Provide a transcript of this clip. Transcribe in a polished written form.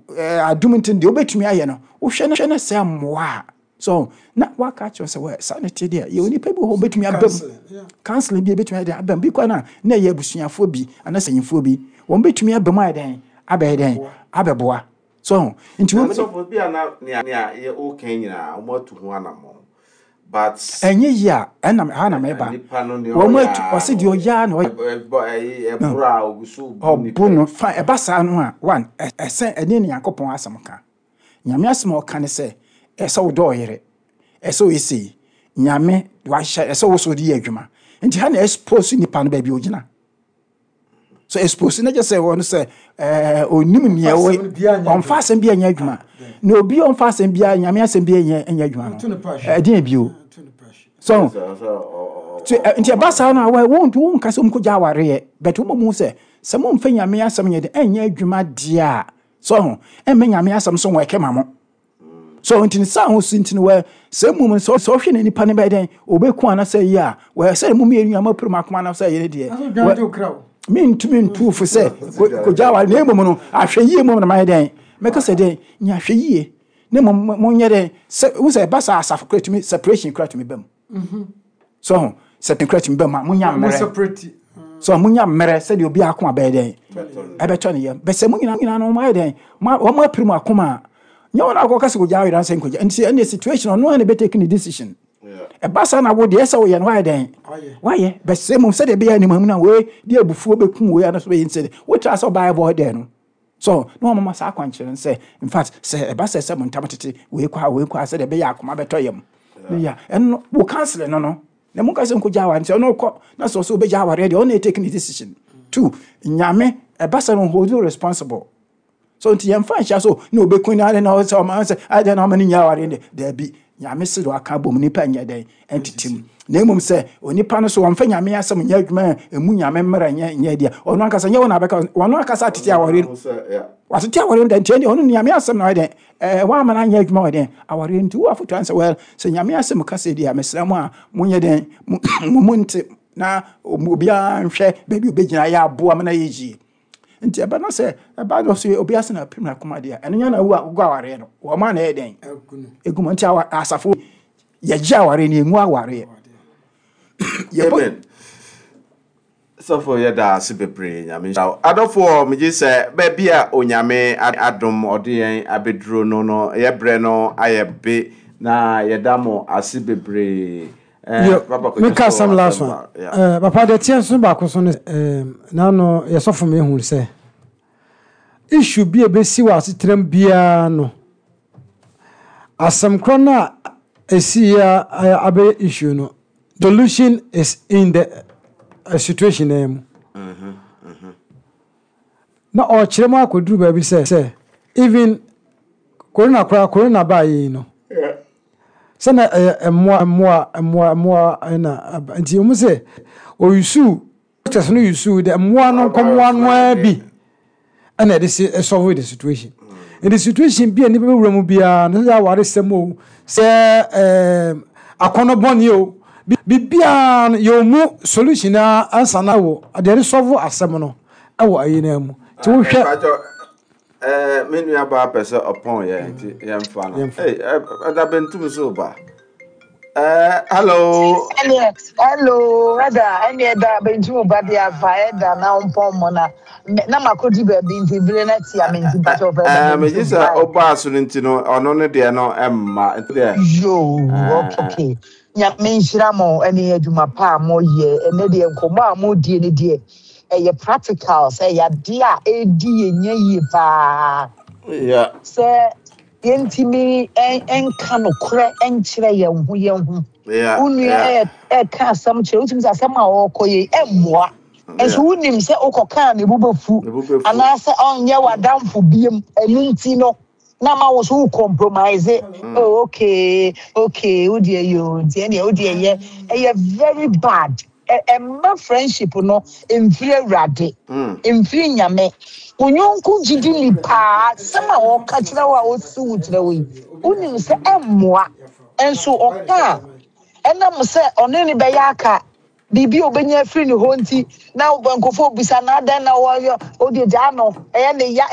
Adom nti deɛ wobɛtumi ayɛ no, wohwɛ no hwɛ no sɛ mmoa a, so na waka akyerɛ sɛ wɛ saa ne te deɛ, yɛwɔ nipa bi wɔ hɔ wobɛtumi aba mu, counseling bi ebɛtumi ayɛ dɛn aba mu, bi kɔ na na ɛyɛ abusuafoɔ bi anaasɛ nyimfoɔ bi, wɔn bɛtumi aba mu ayɛ dɛn abɛyɛ dɛn abɛboa. So nti wɔn. Sɔfo bi a na nea nea yɛ woka nyinaa wɔn atu ho anammɔn, but. Ɛnyɛ yie a, ɛna ha na mɛba. Nipa no nea Wɔn ɔyɛ atu ɔsi deɛ ɔyɛ a na ɔyɛ. Ɛbɔ ɛyi ɛboro a ogu so bu nipa. Ɔbo no fa ɛba saa no a, one, ɛsɛ ɛne ne Nyankopɔn asɛm ka. Nyame asɛm a ɔka ne sɛ ɛsɛ wodɔ ɔyere, ɛsɛ ɔyɛ sei. Nyame wahyɛ ɛsɛ wo so de yɛ adwuma. Nti ha na expose nipa no baabi ogyina. So expose no gye sɛ wɔn sɛ ɛɛ onim nea ɛwɔ, ɔnfa asɛm bi anyɛ adwuma. Na obi a ɔnfa asɛm bi Nyame asɛm bi anyɛ anyɛ adwuma no, ɛdeɛn bio? So nti ɛba saa no a, wɔn wɔn nka sɛ wɔn kɔgya awareɛ, but wɔn mu sɛ sɛ mo nfa Nyame asɛm nyɛ de ɛnyɛ adwuma deɛ a, so ho ɛmɛ Nyame asɛm so wɔn ɛkɛ ma mo. So nti ne saa ho si nti no wɔ sɛ mmom sɛ sɛ ɔhwɛ ne nipa ne bɛyɛ dɛn ɔbɛku anasɛ yi a, wɔ sɛ mo mmienu nyinaa moapere mo akoma anasɛ yere deɛ, mentumi ntu fo sɛ kɔgya aware, na mmom no ahwɛ yie mmom na mayɛ dɛn mɛka sɛ dɛn nya ahwɛ yie, na mmom monyɛ dɛn sɛ wo sɛ ɛba saa asafo kora tumi separation kora tumi ba mu. So ho sɛ kora tumi ba mu a, monya mmerɛ so monya mmerɛ sɛdeɛ obi akoma bɛyɛ dɛn ɛbɛtɔ ne yam. Bɛsɛ mo nyinaa nyinaa no wɔayɛ dɛn wɔn apere mu akoma a, nyɛ wɔn akɔka sɛ kɔgya awere ansɛ nkɔgya. Nti ɛne situation ɔno a na ɛbɛtake ne decision. Ɛba saa na wo deɛ ɛsɛ woyɛ no wayɛ dɛn wayɛ. Bɛsɛ mu sɛdeɛ ɛbɛyɛ anim amu no a, wei de abufuo bɛkum wei anaso bɛyɛ nsɛ wotra sɛ ɔbaa ɛbɔ dɛn no so na wɔn mama saa akwankyerɛ no sɛ in fact sɛ ɛba sɛ sɛ mo ntam tete wei kɔ a wei kɔ a, sɛdeɛ ɛbɛyɛ akoma bɛtɔ yam ne ya ɛno wo counsel no na mo nka sɛ nkɔgya aware. Nti ɔno kɔ na sɛ ɔsɛ wobɛgya awareɛ deɛ, ɔno na take ne decision. Two, Nyame ɛba sɛ no hold you responsible. So nti yɛmfa nhyɛ so na obɛku no ade na ɔsɛ ɔma sɛ ade na ɔma no nya awareɛ deɛ, daabi. Nyame se de waka bom nipa nyɛ dɛn ɛntete mu, na mmom sɛ onipa no so wɔmfa Nyame asɛm nyɛ adwuma a ɛmu Nyame mmara nyɛ nyɛ deɛ, ɔno ankasa nyɛ wo na abɛka, ɔno ankasa atete awareɛ no, watete awareɛ no da. Nti ɛndeɛ ɔno Nyame asɛm na ɔyɛ dɛn ɛɛ wɔama no anyɛ adwuma wɔ dɛn awareɛ. Nti wo afotu ansɛ well sɛ Nyame asɛm ka sɛ deɛ, mesrɛ mo a monyɛ dɛn mo mu nte na obiara nhwɛ baabi obɛgyina yɛ aboa ma no ayɛ yie. Nti ɛba no sɛ ɛba no so obi ase na apem n'akoma deɛ, ɛno nyɛ na wo a wogɔ awareɛ no wɔn a na ɛyɛ dɛn egu mu. Nti asafo yɛgye awareɛ no, yɛngu awareɛ. Amen. Sɔfo, yɛda ase bebree. Nyame nhyira wo. Adɔfoɔ, megye sɛ baabi a Onyame adom ɔde yɛn abɛduro no, yɛbrɛ no ayɛ be na yɛda mo ase bebree. Yo, Papa Kwadwo meka so asɛm last asɛm one. ba, yeah. Papa deɛ teɛ nso baako so ne n'ano yɛsɔfo mi ehu sɛ issue bi a ebesi wɔ asetenam biara no, asɛm korɔ no a esi yɛ abɛyɛ issue no, solution is in the situation na mu. Na ɔkyerɛ mu akɔduru baabi sɛ even corona koraa, corona baa yi no, sɛ na ɛyɛ mmoa mmoa mmoa mmoa ɛna aba, nti wɔn sɛ oyusu doctors no yusu de mmoa no nkɔmmoa no ara bi ɛna ɛde se solve the situation. Nti situation bi a nipa bɛwura mu biara no, sɛ awaresɛm o, sɛ akɔnɔ bɔne o, biribiara no yɛwɔ mu solution a ansa na wɔ deɛ ɛde solve asɛm no ɛwɔ ayi no mu. Nti wohwɛ Me nua baa pɛ sɛ ɔpɔn yɛ, nti yɛmfa no. Yɛmfa. Hey, ɛda bentum so ba. Hello. Ɛneɛ, hello, ɛda, ɛneɛ da bentum ba de afa ɛda na ɔmpɔn mo na na makɔdi baabi nti bere no atia me, nti mpakyɛ wɔfɛ ɛda Megye bentum sɛ bae. ɔbaa so no nti no, ɔno ne deɛ no ɛmma nti deɛ. Yoo, okay. Nyame nhyira mo ɛne adwuma pa a moyɛ. Ɛnɛ deɛ nkɔmmɔ a modie ne deɛ ɛyɛ practical, sɛ ɛyɛ adeɛ a ɛdi yɛn nya yie paa. Sɛ yɛntumi ɛnka nokorɛ ɛnkyerɛ yɛn ho yɛn ho. Wo nua ɛka asɛm kyerɛ wotumi sɛ asɛm a ɔrekɔ yɛ ɛmmoa. Nso wonim sɛ wokɔkaa ne bo bɛfu Ne bo bɛfu. Anaasɛ ɔnyɛ w'adamfo biem, ɛno nti no na ma wo so wo compromise. Oh, okay, wo deɛ yɛ o, nti ɛneɛ wo deɛ yɛ ɛyɛ very bad. Ɛmma friendship no mfiri Awurade, mfiri Nyame. Wo nyɔnko gyidi ni paa, asɛm a ɔka kyerɛ wo a ɔsi wo kyerɛ wo yi, wonim sɛ ɛmmoa, nso ɔka a ɛnam sɛ ɔne ne bɛyɛ aka biribi a obɛnya afiri ne hɔ nti na nkurɔfoɔ bisa na adɛn na wɔyɛ ɔde gyaa no ɛyɛ ne ya.